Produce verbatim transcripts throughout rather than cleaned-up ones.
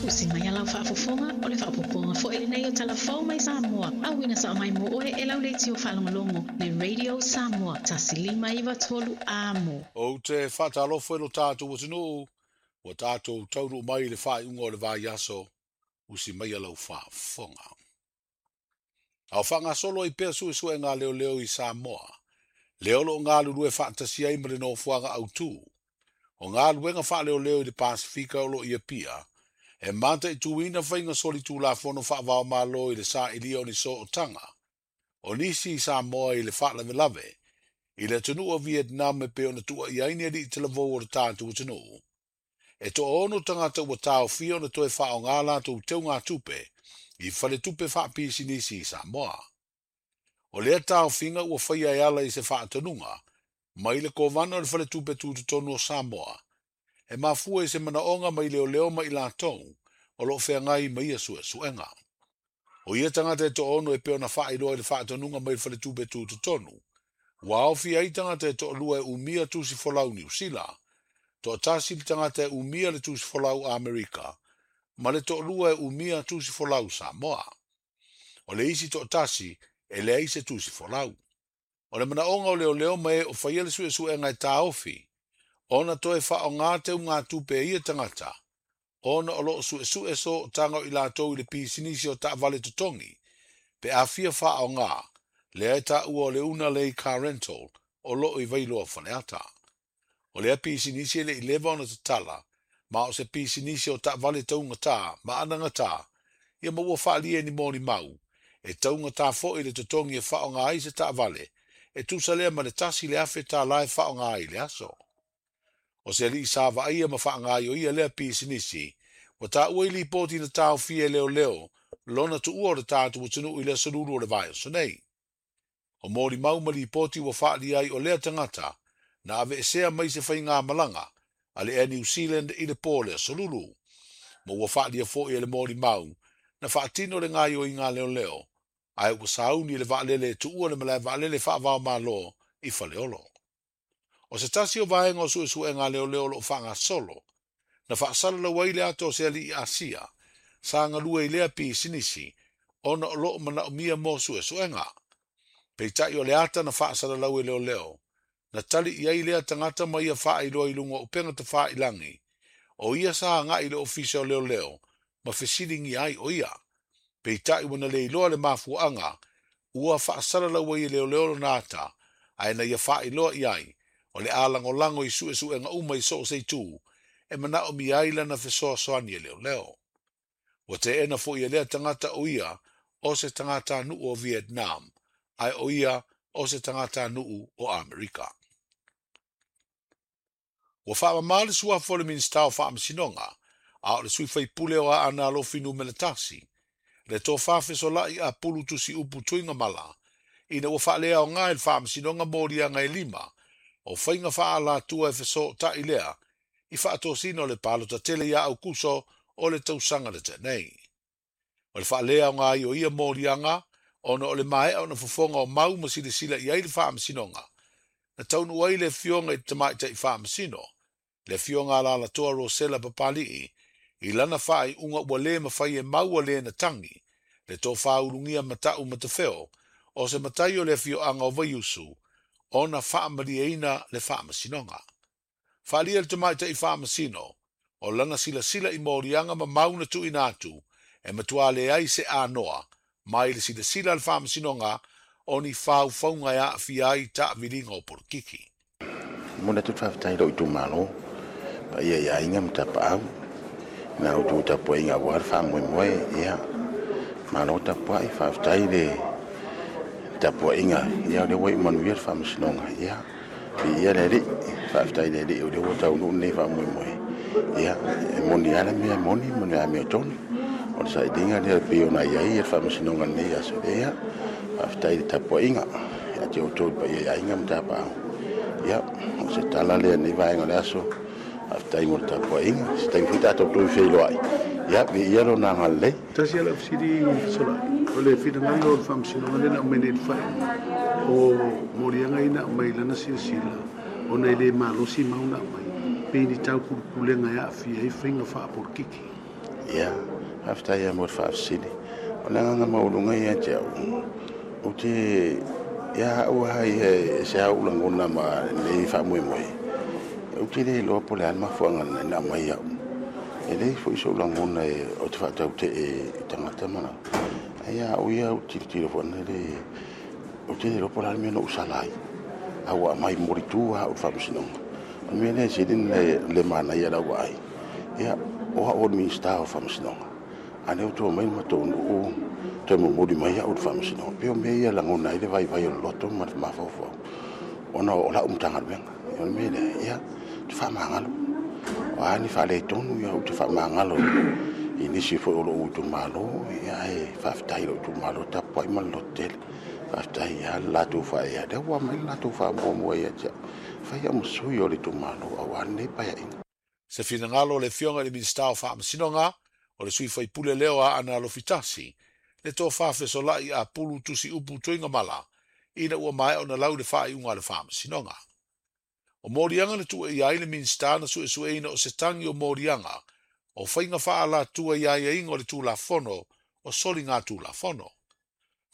Usi mai lau faafofoga o le faaopoopoga foi lenei o Talafou mai Samoa. Auina sao mai mo oe e lau leitio faalogologo le Radio Samoa tasi lima iva tolu amo. Ou te faatalofa i lo tatou atunuu, ua tatou taunuu mai i le faaiuga o le vaiaso, usi mai lau faafofoga. A o faagasolo ai pea suesuega leoleo i Samoa, lea o loo galulue faatasi ai ma le nofoaga autū. O galuega faaleoleo i le Pasifika o loo i Apia, e mataituina faiga solitulafono faavaomalo i le sailia o ni sootaga. O nisi i Samoa i le faalavelave, i le atunuu o Vietnam e pei ona tuuaia ai ni alii talavou o le tatou atunuu. E toaono tagata ua taofia ona toe faaaoga latou teugatupe i faletupe faapisinisi i Samoa. O lea taofiga ua faia e ala i se faatonuga mai le kovana o le faletupe tutotonu o Samoa, e mafua i se manaoga mai leoleo ma i latou o loo feagai ma ia suesuega. O ia tagata e toaono e pei ona faailoa i le faatonuga mai le faletupe tutotonu, ua aofia ai tagata e toalua e umia tusi folau Niu Sila, toatasi le tagata e umia le tusi folau Amerika, ma le toalua e umia tusi folau Samoa. O le isi toatasi e leai se tusi folau. O le manaoga o leoleo ma e o faia le suesuega e taofi, ona toe faaaoga teugatupe e ia tagata, ona o loo suesue sootaga o i latou i le pisinisi o taavale totogi, pe afia faaaoga, lea e taua o le Una Lei Car Rental o loo i Vailoa Faleata. O lea pisinisi e le i leva ona tatala, ma o se pisinisi o taavale taugata ma anagata, ia ma ua faalia ni molimau, e taugata foi le totogi e faaaoga ai se taavale, e tusa lea ma le tasi le afe tala e faaaoga ai le aso. O se alii sa vaaia ma faagaioia lea pisinisi, ua taua i lipoti na taofia e leoleo, lona tuua o le tatou atunuu i le aso lulu o le vaiaso nei. O molimau ma lipoti ua faalia ai o lea tagata, na aveesea mai se faigamalaga a le Air New Zealand i le po le aso lulu. Ma ua faalia foi e le molimau, na faatino le gaioiga leoleo, ae ua sauni le vaalele e tuua le malae vaalele faavaomalo i Faleolo. O se tasi o vaega o suesuega leoleo o loo faagasolo, na faasalalau ai le ata o se alii Asia, sa galue i lea pisinisi, ona o loo manaomia mo suesuega. Peitai o le ata na faasalalau e leoleo, na tali i ai lea tagata ma ia faailoa i luga o upega tafailagi, o ia sa agai i le ofisa o leoleo, ma fesiligia ai o ia. Peitai ua na le iloa le mafuaaga, ua faasalalau ai e leoleo lona ata, ae na ia faailoa i ai, o le a lagolago i suesuega uma i soo se itu, e manaomia ai lana fesoasoani e leoleo. Ua teena foi e lea tagata o ia o se tagatanuu o Vietnam, ae o ia o se tagatanuu o Amerika. Ua faamama le suafa o le Minisita o Faamasinoga, a o le sui faipule o Aana Alofi numera tasi, le tofa fesolai a pulu tusi upu Tuigamala, ina ua faaleaoga i le Faamasinoga moliaga e lima, o faiga faaalatua e fesootai lea, i faatosina o le palota tele ia Aukuso o le tausaga le tenei. O le faaleaoga ai o ia moliaga, ona o le maea ona fofoga o mau ma silasila i ai le Faamasinoga, na taunuu ai le afioga i le tamaitai Faamasino, le afioga a Lalatoa Rosela Papalii, i lana faaiuga ua le mafai e maua le na tagi, le tofa ulugia matau matafeo, o se matai o le afioaga o Vaiusu, ona faamalieina le Faamasinoga. Faalia le tamaitai Faamasino, o lana silasila i moliaga ma mau na tuuina atu, e matua leai se anoa, mai le silasila a le Faamasinoga, o ni faufauga e aafia ai taaviliga o polokiki. Momoli atu le faafetai i lou itumalo, paia i aiga ma tapaau, na outou tapuaiga aua le faamoemoe, ia, malo tapuai, faafetai le tapuaiga, ia, o lea ua iu manuia le Faamasinoga, ia, viia le Alii, faafetai le Alii o lea ua taunuu lenei faamoemoe, ia, e moni lava le mea e moni ma le amiotonu, o le sailiga lea e pei ona i ai le Faamasinoga lenei aso, ia, faafetai le tapuaiga, ia te outou le paia i aiga ma tapaau, ia, o se tala lea lenei vaega o le aso, faafetai mo le tapuaiga, se taimi foi tatou toe feiloai, ia, viia lona agalelei. Tasi ala fesili fesolai, o le finagalo o le Faamasinoga lea na aumai nei le faaiuga, o moliaga ia na aumai lana silasila, ona e le malosi mau na aumai, pe ni taupulepulega e aafia ai faiga faapolokiki. Ia, faafetai ia mo le faafesili. O le agaga maualuga ia te au, ou te ia au lava ia e se au lagona ma lenei faamoemoe. Ou te le iloa po o le a le mafuaaga na aumai au. E leai foi sou lagona e o te faatautee i tagata ma lau. Ae ia au ia ou tilotilo foi lele, ou te le iloa po o le a le mea na ou sala ai. A ua aumai molitu lava au i le faamasinoga. O le mea lea e sili ona le manaia i lau vaai, ia, o au o le Minisita o Faamasinoga, a lea ua toe omai le matou nuu toe momoli mai au i le faamasinoga. Pei o mea ia e lagona ai le vaivai o le loto ma le mafaufau, ona o lau Matagaluega. O le mea lea, ia, ou te faamagalo. O a ni faaletonu, ia, ou te faamagalo i nisi foi o lou itumalo, ia, ae faafetai i lou itumalo tapuai ma le lototele. Faafetai ia le latou faaea, lea ua aumai le latou faamuamua ia te au. Fai au ma sui o le itumalo aua lenei paeaiga. Se finagalo o le Afioga i le Minisita o Faamasinoga, o le sui faipule lea o Aana Alofi Tasi, le tofa fesolai a Pulu Tusi Upu Tuigamala, ina ua maea ona lau le faaiuga a le Faamasinoga. O moliaga na tuu i ai le Minisita na suesueina o se tagi o moliaga o faiga faaalatua i aiaiga o le Tulafono o soligatulafono.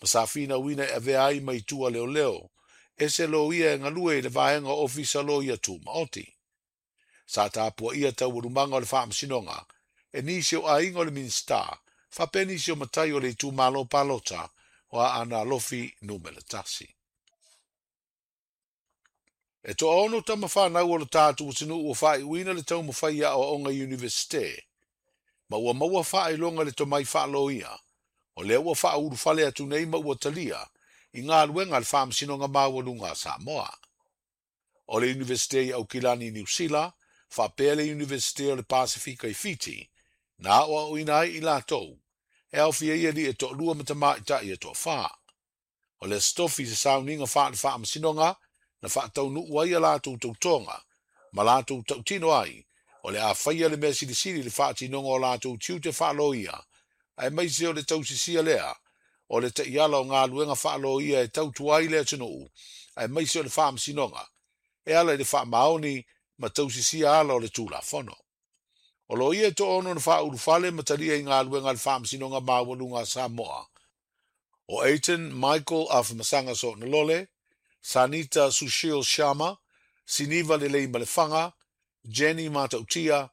Ma sa finauina e avea ai mai tua leoleo, e se loia e galue i le vaega o Ofisa Loia Tumaoti. Sa tapuaia taualumaga o le Faamasinoga e nisi o aiga o le Minisita, faapea nisi o matai o le itumalo palota o Aana Alofi numera tasi. E toaono tama whanau o le tātou atunuu ua faaiuina le taumafai aoaoga i Universite, ma ua maua faailoga le tomai faaloia, o lea ua faaulufale atu nei ma ua talia i galuega a le Faamasinoga Maualuga a Samoa. O le Universite i Aukilani i Niu Sila, faapea le Universite o le Pasifika i Fiti, na aoaoina ai i latou, e aofia ai alii e toalua ma tamaitai e toafa. O le Aso Tofi se sauniga faale Faamasinoga na faataunuu ai a latou tautoga, ma latou tautino ai, o le a faia le mea silisili le faatinoga o latou tiute faaloia, aemaise o le tausisia lea, o le taiala o galuega faaloia e tautua ai le atunuu, aemaise o le Faamasinoga, e ala i le faamaoni ma tausisia ala o le Tulafono. O loia e toaono na faaulufale ma talia i galuega a le Faamasinoga Maualuga a Samoa, o Aiton Michael Afamasaga Soonalole, Sanita Sushil Sharma, Siniva Lelei Malefaga, Jenny Matautia,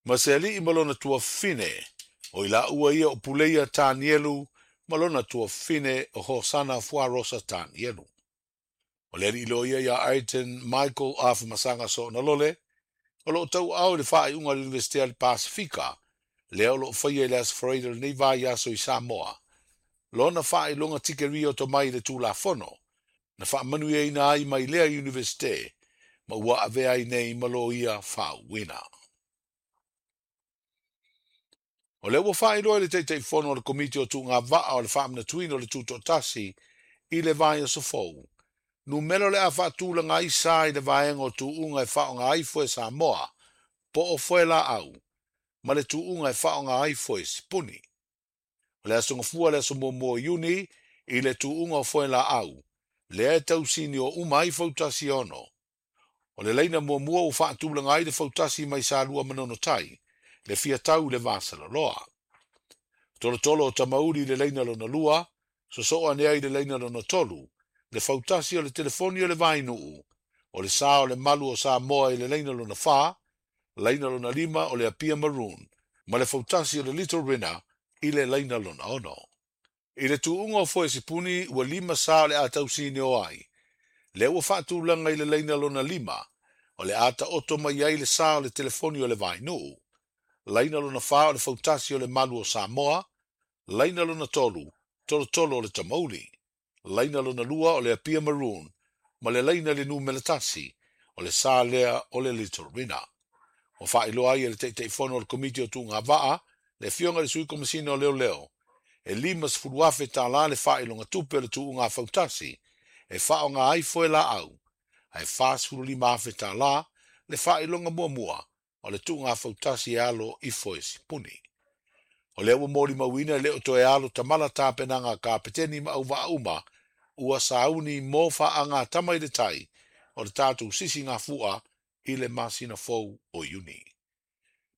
ma se alii ma lona tuafafine, o i laua ia o Puleia Tanielu ma lona tuafafine o Hosana Fuarosa Tanielu. O le alii loia ia Aiton Michael Afamasaga Soonalole, o loo tauaao i le faaiuga a le Universite a le Pasifika, lea o loo faia i le Aso Faraile o lenei vaiaso i Samoa, lona faailoga tikeria o tomai i le Tulafono, na faamanuiaina ai mai lea Universite, ma ua avea ai nei ma loia faauuina. O lea ua faailoa i le Taitaifono o le Komiti o Tuugavaa o le Faamanatuina o le Tutoatasi i le vaiaso fou, numera o le a faatulaga ai sa i le vaega o tuuga e faaaoga ai foe Samoa, po o foe laau, ma le tuuga e faaaoga ai foe sipuni. O le aso Gafua le aso muamua o Iuni i le tuuga o foe laau, lea e tausini o uma ai fautasi e ono. O le laina muamua ua faatulaga ai le fautasi mai Salua ma Nonotai, le fiatau i le vasaloloa. Tolotolo o Tamauli i le laina lona lua, sosoo ane ai i le laina lona tolu, le fautasi o le telefoni o le Vainuu, o le sa o le malu o Samoa i le laina lona fa, laina lona lima o le Apia Maroon, ma le fautasi o le Little Rina i le laina lona ono. I le tuuga o foe sipuni ua lima sa o le a tausini o ai, lea ua faatulaga i le laina lona lima, o le a taoto mai ai le sa o le telefoni o le Vainuu, laina lona fa o le fautasi o le malu o Samoa, laina lona tolu, tolotolo o le Tamauli, laina lona lua o le Apia Maroon, ma le laina le numera tasi, o le sa lea o le Little Rina. Ua faailoa ai e le Taitaifono o le Komiti o Tuugavaa, le Afioga i le Sui Komesina o Leoleo, e lima sefulu afe tālā le faailoga tupe o le tuuga fautasi, e faaaoga ai foe laau, ae fa sefulu lima afe tālā le faailoga muamua o le tuuga fautasi e alo i foe sipuni. O lea ua molimauina e le o toe alo tamala tapenaga a kapeteni ma auvaa uma, ua sauni mo faaga tama i le tai o le tatou sisi gafua i le masina fou o Iuni.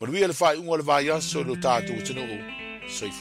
Manuia le faaiuga o le vaiaso i lo tatou atunuu. Soifua.